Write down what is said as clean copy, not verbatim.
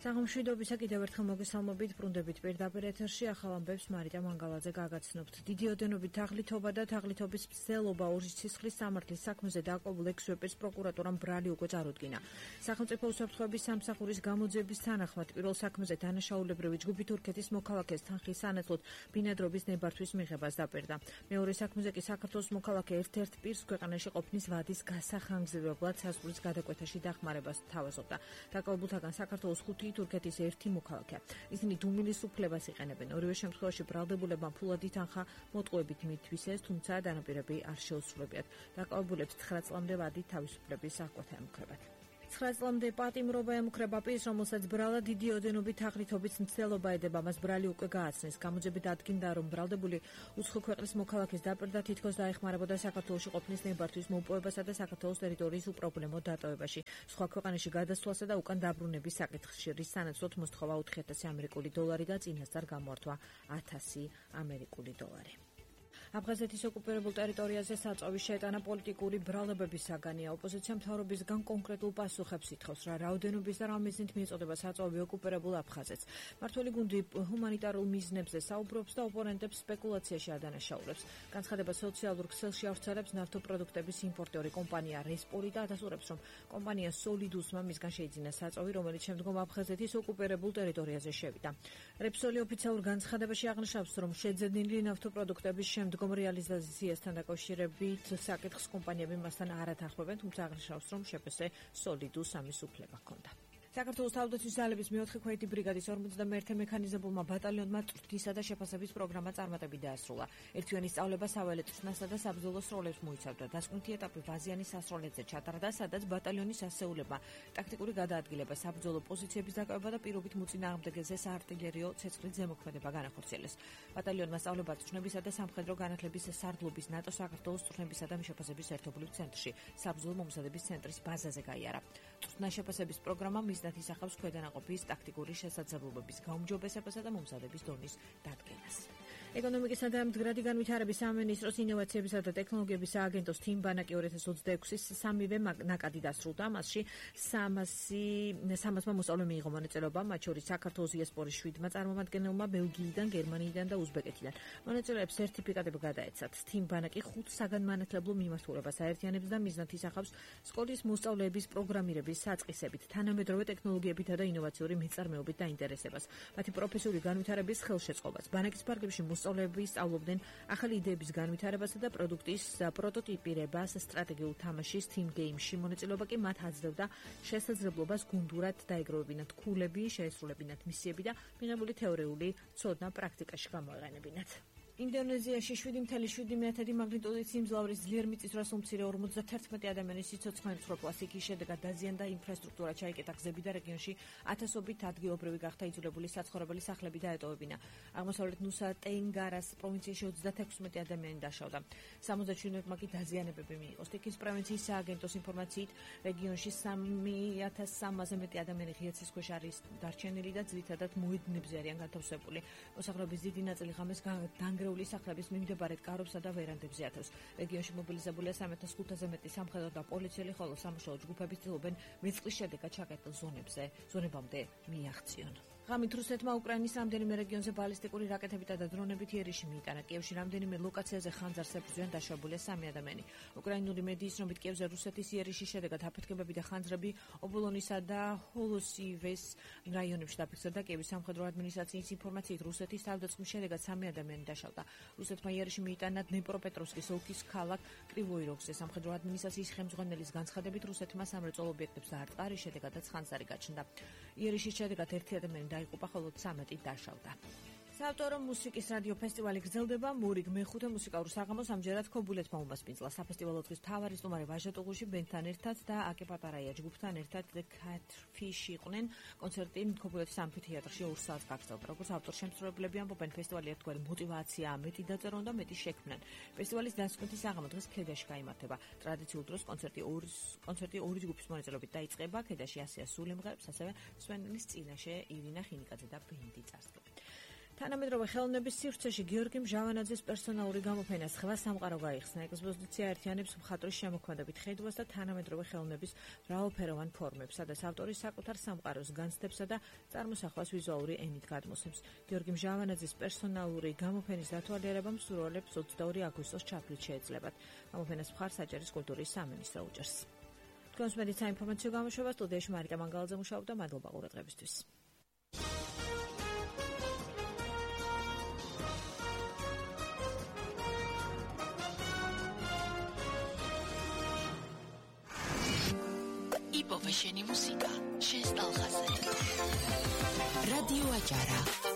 საღამოშვიდობისა კიდევ ერთხელ მოგესალმებით, ბრუნდებით პირდაპირ ეთერში ახალ ამბებს მარიტა მანგალაძე გაგაცნობთ. დიდი ოდენობით თაღლითობა და თაღლითობის მცდელობა ორი ცისხლის სამართლის საქმეზე დაყოლ ექვსვეპირს პროკურატურამ ბრალი უკვე წარუდგინა. სახელმწიფო უსაფრთხოების სამსახურის გამოძიების თანახმად პირველ საქმეზე დანაშაულებრივი ჯგუფი თურქეთის მოქალაქეს თანხის სანაცვლოდ ბინადრობის ნებართვის მიღებას დაპირდა. მეორე საქმეზე კი საქართველოს მოქალაქე ერთ-ერთ პირს ქვეყანაში ყოფნის ვადის გასახანგრძლივებლად საზღვრის გადაკვეთაში დახმარებას თავაზობდა. დაკავებულთაგან საქართველოს 5 თურქეთის ერთი მოქალაქეა. ისინი დუმილის უფლებას იყენებენ. ორივე შემთხვევაში ბრალდებულებმა ფულადი თანხა მოტყუებით მითვისეს, თუმცა დანაპირები არ შეუსრულებიათ. დაკავებულებს 9 წლამდე ვადი თავისუფლების აღკვეთა ემუქრებათ. 9 წლამდე პატიმრობა ემუქრება პირს, რომელსაც ბრალა დიდი ოდენობით თაღლითობის მცდელობა ედება, მას ბრალი უკვე გააცნეს. გამოძიებით ადგინდა, რომ ბრალდებული უცხო ქვეყნის მოქალაქეს დაპირდა, თითქოს დაეხმარებოდა საქართველოში ყოფნის ნებართვის მოპოვებასა და საქართველოს ტერიტორიის უპრობლემო დატოვებაში. სხვა ქვეყანაში გადასვლასა და უკან დაბრუნების საკითხში, რის სანაცვლოდ მოსთხოვა 4,000 ამერიკული დოლარი და წინასწარ გამოართვა 1,000 ამერიკული დოლარი. აფხაზეთის ოკუპირებულ ტერიტორიაზე საწვავის შეტანა პოლიტიკური ბრალდებების საგანია. ოპოზიცია მთავრობისგან კონკრეტულ პასუხებს ითხოვს, რა რაოდენობის და რა მიზნით მიეწოდება საწვავი ოკუპირებულ აფხაზეთს. მმართველი გუნდი ჰუმანიტარულ მიზნებზე საუბრობს და ოპონენტებს სპეკულაციაში ადანაშაულებს. განცხადება სოციალურ ქსელში ავრცელებს ნავთობპროდუქტების იმპორტიორი კომპანია რესპოლი და ადასტურებს, რომ კომპანია სოლიდუსმა მისგან შეიძინა საწვავი, რომელიც შემდგომ აფხაზეთის ოკუპირებულ ტერიტორიაზე შევიდა. რესპოლი ოფიციალურ განცხადებაში აღნიშნავს, რომ შეძენილი ნავთობპროდუქტების შემდგომ რეალიზაციასთან დაკავშირებით საკითხს კომპანიები მასთან არ ათანხმებენ, თუმცა აღნიშნავს, რომ შეფესე სოლიდუს ამის უფლება ჰქონდა. საქართველოს თავდაცვის ძალების მე-4 ქვეითი ბრიგადის 51-ე მექანიზებულმა ბატალიონმა წვრთნისა და შეფასების პროგრამა წარმატებით დაასრულა. ერთთვიანი სწავლება საველე წვრთნასა და საბრძოლო სროლებს მოიცავდა. დასკვნითი ეტაპი ვაზიანის სასროლეთზე ჩატარდა, სადაც ბატალიონის ასეულებმა ტაქტიკური გადაადგილება, საბრძოლო პოზიციების დაკავება და პირობით მოწინააღმდეგეზე საარტილერიო ცეცხლით ზემოქმედება განახორციელეს. ბატალიონმა სწავლება წვრთნებისა და სამხედრო განათლების სარდლობის ნატოს საქართველოს წვრთნებისა და შეფასების ერთობლივ ცენტრში, საბრძოლო მომზადების ცენტრის ბაზაზე გაიარა. წვრთნა შეფასების პროგრამა მიზნად ისახავს ქვედანაყოფის ტაქტიკური შესაძლებლობების გაუმჯობესებასა და მომზადების დონის დადგენას. ეკონომიკისა და მდგრადი განვითარების სამინისტროს ინოვაციებისა და ტექნოლოგიების სააგენტოს თიმ ბანაკი 2026-ის სამივე ნაკადი დასრულდა. მასში 300-მა მოსწავლე მიიღო მონაწილეობა, მათ შორის საქართველოს დიასპორის 7-მა წარმომადგენელმა, ბელგიიდან, გერმანიიდან და უზბეკეთიდან. მონაწილეებს სერტიფიკატები გადაეცათ. თიმ ბანაკი 5 საგანმანათლებლო მიმართულებას აერთიანებს და მიზნად ისახავს სკოლის მოსწავლეების პროგრამირების საწყისებით, თანამედროვე ტექნოლოგიებითა და ინოვაციური მეწარმეობით დაინტერესებას, მათი პროფესიული განვითარების ხელშეწყობას. ბანაკის ფარგლებში მოსწავლეები სწავლობდნენ ახალი იდეების განვითარებასა და პროდუქტის პროტოტიპირებას სტრატეგიულ თამაშის Team Game-ში. მონაწილეობა კი მათ აძლევდა შესაძლებლობას გუნდურად დაეგროვებინათ ქულები, შეესრულებინათ მისიები და მიღებული თეორიული ცოდნა პრაქტიკაში გამოეყენებინათ. ინდონეზიაში 7,7 მაგნიტუდით სიმძლავრის ძლიერ მიწისძვრას უმცირე 51 ადამიანის სიცოცხლე მსხვერპლას. იქის შედეგად დაზიანდა ინფრასტრუქტურა, ჩაიკეტა გზები და რეგიონში ათასობით ადგილობრივი გახდა იძულებული საცხოვრებელი სახლები დაეტოვებინა. აღმოსავლეთ ნუსა ტენგარას პროვინციაში 36 ადამიანი დაშავდა. 77-მა კი დაზიანებები მიიღო. სტიქის პროვინციის სააგენტოს ინფორმაციით, რეგიონში 3,300-ზე მეტი ადამიანი ღია ცის ქვეშ არის დარჩენილი და ძირითადად მოედნებზე არიან განთავსებული. მოსახლეობის დიდი ნაწილი ღამეს დანგრეული სახლების მიმდებარედ კარობსა და ვერანდებზე ათავს. რეგიონში მობილიზებულია 3,500-ზე მეტი სამხედრო და პოლიციელი, ხოლო სამუშაო ჯგუფები ცდილობენ მეწყლის შედეგად ჩაკეტილ ზონებამდე მიაღწიონ. ღამით რუსეთმა უკრაინის რამდენიმე რეგიონზე ბალისტიკური რაკეტებითა და დრონებით იერიში მიიტანა. კიევში რამდენიმე ლოკაციაზე ხანძარს ებრძვიან, დაშვებულია 3 ადამიანი. უკრაინული მედიის ცნობით, კიევზე რუსეთის იერიშის შედეგად აფეთქებები და ხანძრები ობოლონისა და ჰოლოსივეს რაიონებში დაფიქსირდა. კიევის სამხედრო ადმინისტრაციის ინფორმაციით, რუსეთის თავდაცვის შედეგად 3 ადამიანი დაშავდა. რუსეთმა იერიში მიიტანა დნეპროპეტროვსკის ოლქის ქალაქ კრივოი როგზე. სამხედრო ადმინისტრაციის ხელმძღვანელის განცხადებით, რუსეთმა სამრეწველო ობიექტებს დაარტყა, რის შედეგადაც ხანძარი გაჩნდა. იერიშის შედეგად 1 ადამიანი დაიღუპა, ხოლო 13 დაშავდა. საავტორო მუსიკის რადიო ფესტივალი გრძელდება. მურიგ მე-5 მუსიკალურ საღამოს ამჯერად ქობულეთმა უმასპინძლა. საფესტივალო დღის მთავარი სტუმარი ვაჟა ტუღუში ბენდთან ერთად და აკე პატარაია ჯგუფთან ერთად The Catfish იყვნენ. კონცერტი ქობულეთის ამფითეატრში 2 საათს გაგრძელდა. როგორც ავტორ-შემსრულებლები ამბობენ, ფესტივალი ერთგვარი мотиваციაა, მეტი დაწერონ და მეტი შექმნან. ფესტივალის დასკვნითი საღამო დღეს ქედაში გაიმართება. ტრადიციულ დროს კონცერტი ორი ჯგუფის მონაწილეობით დაიწყება. ქედაში ასია სულიმღერებს, ასევე სვენელის წინაშე ირინა ხინიკაძე და ბენდი წარსდგება. თანამედროვე ხელოვნების სივრცეში გიორგი მჟავანაძის პერსონალური გამოფენა სხვა სამყარო გაიხსნა. ექსპოზიცია ერთიანებს მხატვრის შემოქმედებით ხედვას და თანამედროვე ხელოვნების მრავალფეროვან ფორმებს, სადაც ავტორი საკუთარ სამყაროს განცდებსა და წარმოსახვას ვიზუალური ენით გადმოსცემს. გიორგი მჟავანაძის პერსონალური გამოფენის დათვალიერება მსურველებს 22 აგვისტოს ჩაფლით შეეძლებათ. გამოფენას მხარს აჭარის კულტურის სამინისტრო უჭერს. თქვენს მედით საინფორმაციო გამოშვება სტუდიაში მარიტა მანგალაძე მუშაობდა. მადლობა ყურადღებისთვის. იპოვე შენი მუსიკა, შენ სტალღაზე. რადიო აჭარა.